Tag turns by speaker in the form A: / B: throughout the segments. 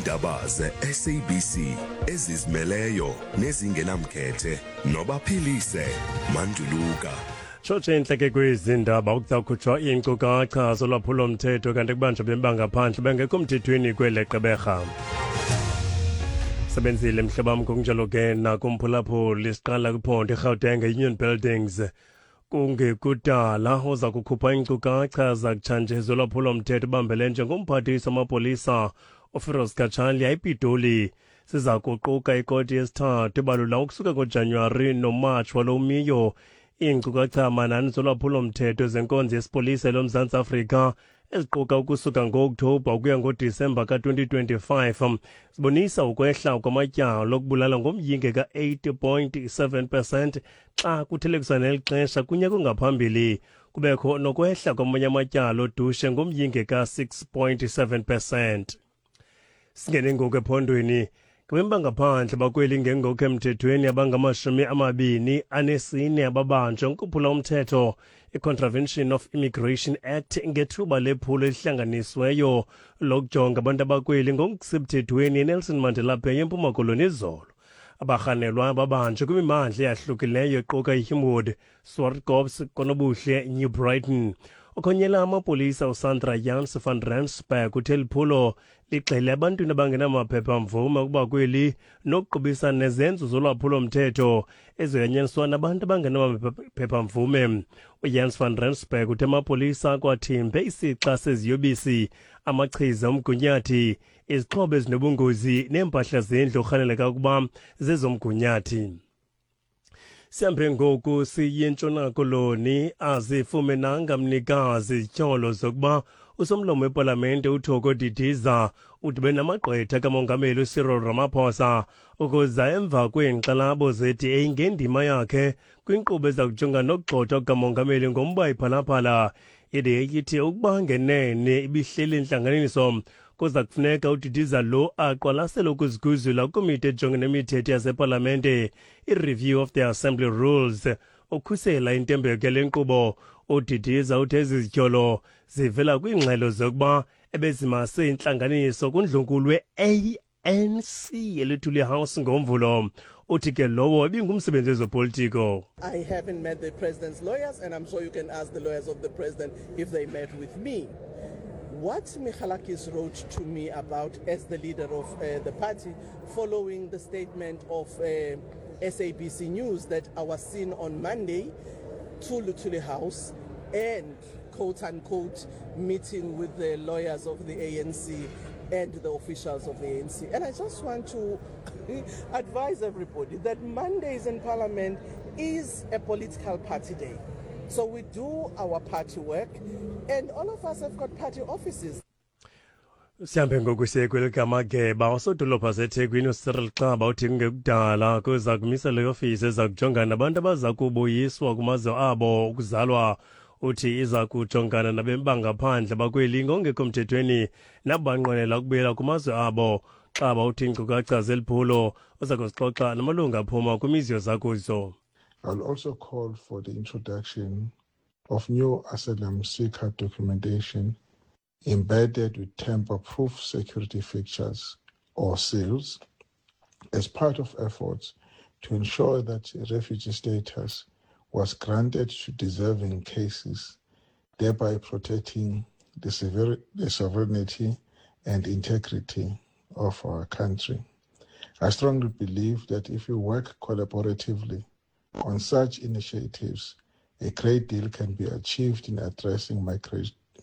A: Iindaba ze-SABC ezizimeleyo nezingenamkhethe nobaphilise Manduluka.
B: Tshotshe intleke kwezi ndaba kuza kukhutshwa iinkcukacha zolwaphulo-mthetho kanti kubanjwa bembangaphandle bengekho mthethweni kwele Gqeberha. Sebenzile mhlobo wam, ngokunjalo ke nakumphulaphuli. Siqala kwiphondo iGauteng, Union Buildings. Kungekudala uza kukhupha iinkcukacha zakutshanje zolwaphulo-mthetho bambele njengomphathiswa wamapolisa uFiroz Cachalia ePitoli. Siza kuquka ikoti yesithathu ebalula ukusuka ngoJanuwari noMatshi walo umiyo. Iinkcukacha manani zolwaphulo-mthetho zenkonzo yesipolisa loMzantsi Afrika eziquka ukusuka ngo-Okthobha ukuya ngoDisemba ka-2025 zibonisa ukwehla kwamatyala okubulala ngomyinge ka-8.7% xa kuthelekiswa neli xesha kunyaka ongaphambili. Kubekho nokwehla kwamanye amatyala odushe ngomyinge ka-6.7%. Singene ngoku ephondweni. Ngabemi bangaphandle bakweli ngengokho emthethweni abangama-24 ababanjwa ngokuphula umthetho i-Contravention of Immigration Act ngethuba lephulo elihlanganisweyo lokujonga abantu abakweli ngokusemthethweni eNelson Mandela Bay eMpuma Koloni izolo. Abarhanelwa babanjwe kwimimandla eyahlukileyo equka iHumewood, Swartkops, Konobuhle, New Brighton. Okhonyela amapolisa uSandra Jans van Rensburg uthe liphulo ligxile ebantwini abangenamaphepha-mvume ukuba kweli nokuqubisana nezenzo zolwaphulo-mthetho ezoyanyaniswa nabantu abangenamaphepha-mvume. UJans van Rensburg uthe amapolisa akwathimbe isixa seziyobisi, amachiza omgunyathi, izixhobo ezinobungozi neempahla zendlu orhaneleka ukuba zezomgunyathi. Sihambe ngoku siye eNtshona Koloni. Azifumenanga mnikazi izityholo zokuba usomlomo wepalamente uThoko Didiza udibene namagqwetha kamongameli uCyril Ramaphosa ukuza emva kweenkxalabo ze-DA ngendima yakhe kwinkqubo eza kujonga nokugxothwa kukamongameli ngomba iPhalaphala. I-DA ithi ukuba ngenene ibihleli intlanganiso, kuza kufuneka uDidiza lo aqwalasele ukuziguzula kwikomiti ejongene nemithetho yasepalamente, i-review of the assembly rules, ukhusela intembeko yale nkqubo. UDidiza uthe ezi zityholo zivela kwiingxelo zokuba ebezimase intlanganiso kundlunkulu we-ANC eLuthuli House ngoMvulo. Uthi ke lowo ibingumsebenzi wezopolitiko.
C: I haven't met the president's lawyers, and I'm sure you can ask the lawyers of the president if they met with me. What Michalakis wrote to me about as the leader of the party, following the statement of SABC News that I was seen on Monday to Luthuli House and quote unquote meeting with the lawyers of the ANC and the officials of the ANC. And I just want to advise everybody that Mondays in Parliament is a political party day. So we do our party work, and all of us have got party offices.
B: Sihambe ngoku siye kwelikamageba. Usodolopha seThekwini uCyril Xaba uthi kungekudala kuza kumisa le ofisi eza kujongana nabantu abaza kubuyiswa kumazwe abo ukuzalwa. Uthi iza kujongana nabemi bangaphandle bakweli ngongekho mthethweni nabo banqwenela ukubuyela kumazwe abo. Xaba uthi iinkcukacha zeliphulo uza kuzixoxa namalungu aphuma kwimizi yozakuzo.
D: I'll also call for the introduction of new asylum seeker documentation embedded with tamper-proof security features or seals as part of efforts to ensure that refugee status was granted to deserving cases, thereby protecting the sovereignty and integrity of our country. I strongly believe that if we work collaboratively on such initiatives, a great deal can be achieved in addressing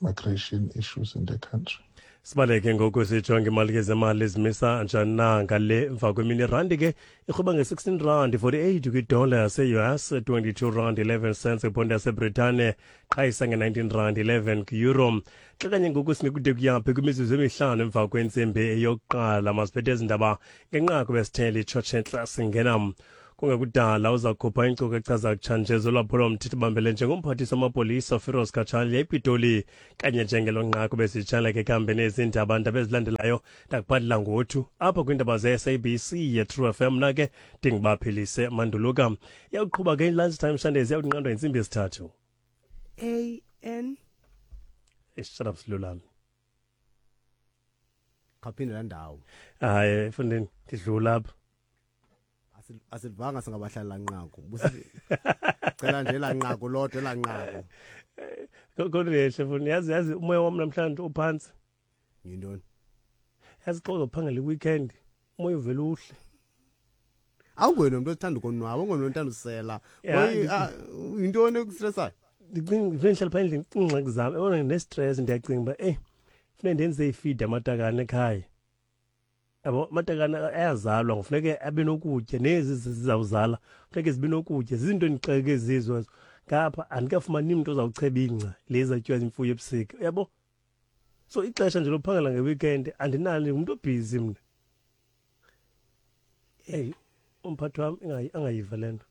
D: migration issues in the country.
B: Sibaleke ngoku sijonge imali ke zemali ezimisa njani na ngale mva kwemini. Irandi ke irhuba nge-16 rand 48 kwidola yase-US, 22 rand 11 cents kwiponti yaseBritane, qhayisa nge-19 rand 11 kwi-euro. Xa kanye ngoku singekude kuyaphi kwimizuzu emihlanu emva kwentsimbi eyokuqala, masiphethe ezi ndaba ngenqaku besithele itshotshe. Singena kungekudala uza kukhupha iinkcukacha zakutshanje zolwaphulo-mthetho bambele njengomphathiswa wamapolisa Firoz Cachalia ePitoli. Kanye njengelo nqaku besitshala ke kuhambeni ezindaba, ndaba ezilandelayo ndakuphathela ngothu apha kwiindaba ze-SABC ye-True FM. Na ke ndingubaphilise Manduluka. Iyawuqhuba ke i-Lunch Time Sundays, iyawunqandwa yintsimbi yesithathu.
E: A N.
B: Shut up, Silulami.
E: Khawuphinde laa ndawo.
B: Hayi mfondini, ndidlula apha.
E: Asilivanga singabahlali laa nqaku. Busithi cela nje laa nqaku lodwa elaa nqaku.
B: Kodwa yehle mfondini, yazi umoya wam namhlanje uphantsi.
E: Yintoni?
B: Yazi xa uzophangela i-weekend, umoya uvele uhle.
E: Awunguye nomntu othanda ukonwaba, awunguye nomntu othanda usela.
B: Ya,
E: Kwaye, yintoni ekustresayo?
B: Ndicinga ndifuneka ndihlale phaa endlini ndicinga iingxaki zam. Yabona ndinestress, ndiyacinga uba eyi funeka ndenze ifidi amatakane ekhaya. Yabo, amatakane ayazalwa, kufuneke abe nokutya, nezi zizawuzala funeke zibe nokutya. Zizinto endixeke zizo ezo. Ngapha andikafumani mntu ozawucheba ingca le izawutyiwa zimfuyo ebusika, uyabo. So ixesha nje lokuphangela ngeweekend andinalo, ndingumntu obhizi mna. Eyi, umphathi wam angayiva le nto.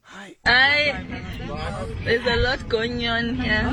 F: Hayi, there's a lot going on here.